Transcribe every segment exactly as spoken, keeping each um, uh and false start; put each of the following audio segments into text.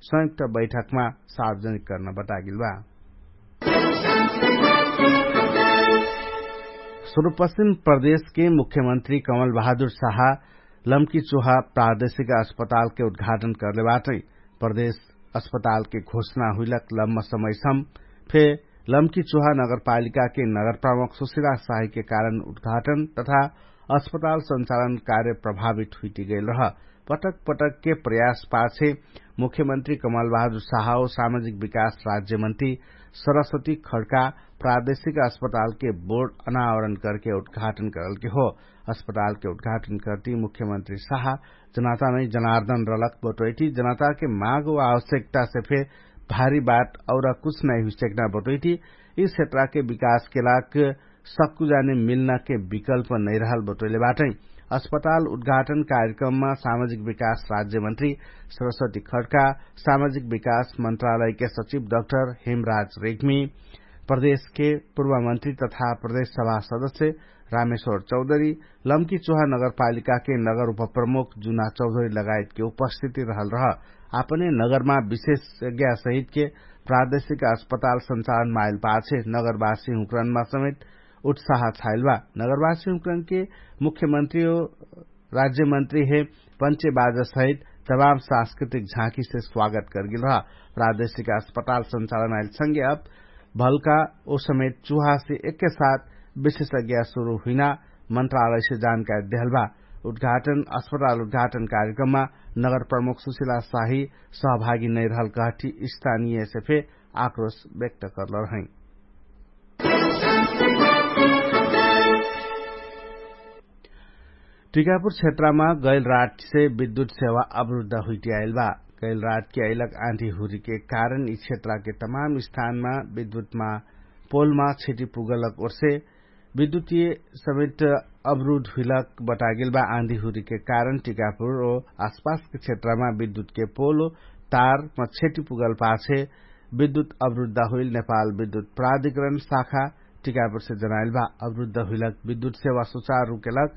संयुक्त बैठकमा सार्वजनिक कर्न बतागेल बा। सुरुपश्चिम प्रदेशके मुख्यमन्त्री कमल बहादुर साहा लम्की चुहा प्रादेशिक अस्पतालके उद्घाटन कर्ले बाटै। प्रदेश अस्पतालके घोषणा हुइलक लम्म समयसम फे लम्की चुहा नगरपालिकाके नगरप्रमुख सुशिला साहिके कारण उद्घाटन तथा अस्पताल सञ्चालन कार्य प्रभावित हुइटिगेल रह। पटक पटकके प्रयास पाछे मुख्यमन्त्री कमल बहादुर साहा सामाजिक विकास राज्यमन्त्री सरस्वती खड्का प्रादेशिक अस्पतालके बोर्ड अनावरण करके उद्घाटन करलके हो। अस्पतालके उद्घाटन करती मुख्यमन्त्री साहा जनता नै जनार्दन रलक बटोइटी जनताके माग वा आवश्यकता से फे भारी बात और कुछ नै हुइसक्ना बटोइटी यी क्षेत्रके विकासके लाग सक्कु जाने मिल्नाके विकल्प नैरहल बटोइले बाटै। अस्पताल उद्घाटन कार्यक्रममा सामाजिक विकास राज्यमन्त्री सरस्वती खड्का, सामाजिक विकास मन्त्रालयके सचिव डक्टर हेमराज रेग्मी, प्रदेशके पूर्वमन्त्री तथा प्रदेश सभा सदस्य रामेश्वर चौधरी, लम्की चुहा नगरपालिकाके नगर उपप्रमुख जुना चौधरी लगायतके उपस्थिति रहल रह। आपने नगरमा विशेषज्ञा सहितके प्रादेशिक अस्पताल सञ्चालन माइल पाछे नगरवासी हुँक्रनमा समेत उत्साह छाइल बा। नगरवासी हुँक्रनके मुख्यमन्त्री हो राज्यमन्त्री हे पञ्चे बाजा सहित तमाम सांस्कृतिक झाँकीसे स्वागत करगेल रह। प्रादेशिक अस्पताल सञ्चालन आइल संगे अब भलका ओ समेत चुहासे एक्के साथ विशेषज्ञा सुरु हुइना मन्त्रालयसे जानकारी देहल बा। उद्घाटन अस्पताल उद्घाटन कार्यक्रममा नगर प्रमुख सुशिला साही सहभागी नैरहल कहठी स्थानीयसे फे आक्रोश व्यक्त करल रहै। टिकापुर क्षेत्रमा गैल रातसे विद्युत सेवा अवरुद्ध हुइटियाइल बा। गैल रातके अइलक आँधी हुरीके कारण यि क्षेत्रके तमाम स्थानमा विद्युतमा पोलमा क्षति पुगलक ओर्से विद्युतीय समेत अवरुद्ध हुइलक बतागेल बा। आँधी हुरीके कारण टिकापुर ओ आसपासके क्षेत्रमा विद्युतके पोल तारमा क्षति पुगल पाछे विद्युत अवरुद्ध हुइल नेपाल विद्युत प्राधिकरण शाखा टिकापुरसे जनाइल बा। अवरुद्ध हुइलक विद्युत सेवा सुचार रुकेलक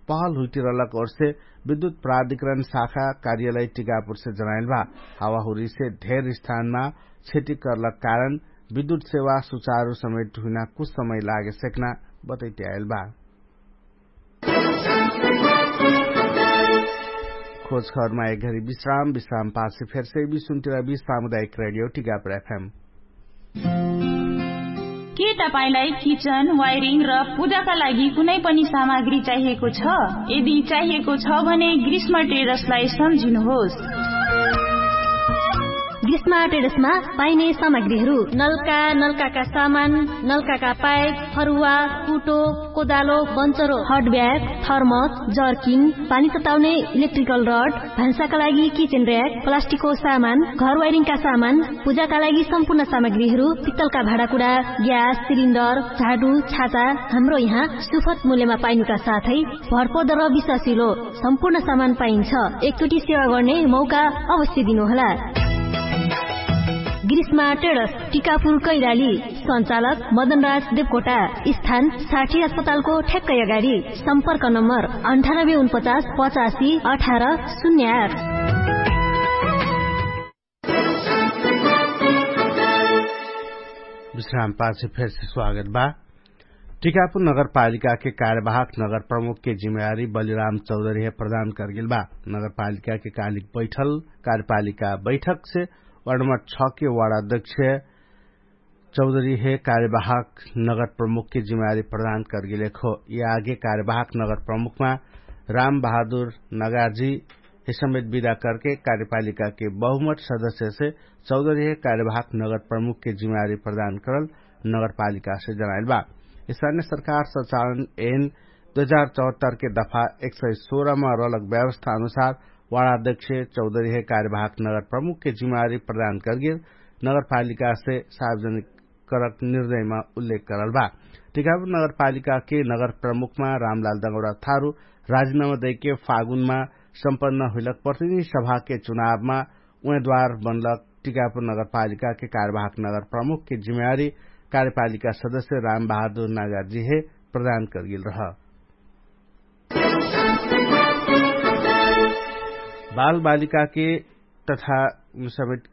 पहल हुइटिरलक ओर्से विद्युत प्राधिकरण शाखा कार्यालय टिकापुरसे जनाइल बा। हावाहुरीसे ढेर स्थानमा क्षति कर्लक कारण विद्युत सेवा सुचारु समेट हुइना कुछ समय लागे सेक्ना बतैट्याएल बा। खोजखबरमा एक घरी विश्राम विश्राम पाछे फेरसे बिसुन्तिरा बिस सामुदायिक रेडियो टिकापुर एफएम। के तपाईंलाई किचन वायरिङ र पूजाका लागि कुनै पनि सामग्री चाहिएको छ? यदि चाहिएको छ भने ग्रीष्म ट्रेडर्सलाई सम्झिनुहोस्। ग्रीष्म ट्रेडर्समा पाइने सामग्रीहरू नल्का नल्काका सामान, नल्काका पाइप, फरुवा, कुटो, कोदालो, बन्चरो, हटब्याग, थर्मस, जर्किन, पानी तताउने इलेक्ट्रिकल रड, भान्साका लागि किचेन र्याक, प्लास्टिकको सामान, घर वाइरिङका सामान, पूजाका लागि सम्पूर्ण सामग्रीहरू, पित्तलका भाँडाकुडा, ग्यास सिलिन्डर, झाडु, छाता, हाम्रो यहाँ सुफत मूल्यमा पाइनुका साथै भरपर्दर विश्वासिलो सम्पूर्ण सामान पाइन्छ। एकचोटि सेवा गर्ने मौका अवश्य दिनुहोला। ग्रीष्मा ट्रेडर्स, टिकापुर कैराली। सञ्चालक मदनराज देवकोटा। स्थान साठी अस्पतालको ठ्याक्कै अगाडि। सम्पर्क नम्बर अन्ठानब्बे उनपचास पचासी अठार शून्य आठ। विश्राम पाछे फेरसे स्वागत बा। टिकापुर नगरपालिकाके कार्यवाहक नगर प्रमुखके जिम्मेवारी बलिराम चौधरीहे प्रदान करगेल बा। नगरपालिकाके कालिक बैठल कार्यपालिका बैठकसे वार्ड नम्बर छके वार्ड अध्यक्ष चौधरीहे कार्यवाहक नगर प्रमुखके जिम्मेवारी प्रदान करगेलेक हो। यि आगे कार्यवाहक नगर प्रमुखमा राम बहादुर नगाजी हे समेत विदा करके कार्यपालिकाके बहुमत सदस्यसे चौधरीहे कार्यवाहक नगर प्रमुखके जिम्मेवारी प्रदान करल नगरपालिकासे जनाइल बा। स्थानिय सरकार सञ्चालन एन दुई हजार चौहत्तरके दफा एक सय सोह्रमा रलक व्यवस्था अनुसार वार्ड अध्यक्ष चौधरीहे कार्यवाहक नगर प्रमुखके जिम्मेवारी प्रदान करगेल नगरपालिकासे सार्वजनिक करक निर्णयमा उल्लेख करल बा। टिकापुर नगरपालिकाके नगर प्रमुखमा रामलाल दगौरा थारु राजिनामा दैके फागुनमा सम्पन्न हुइलक प्रतिनिधि सभाके चुनावमा उमेदवार बनलक टिकापुर नगरपालिकाके कार्यवाहक नगर प्रमुखके जिम्मेवारी कार्यपालिका सदस्य राम बहादुर नागाजीहे प्रदान करगेल रह। बालबालिकाके तथा समेत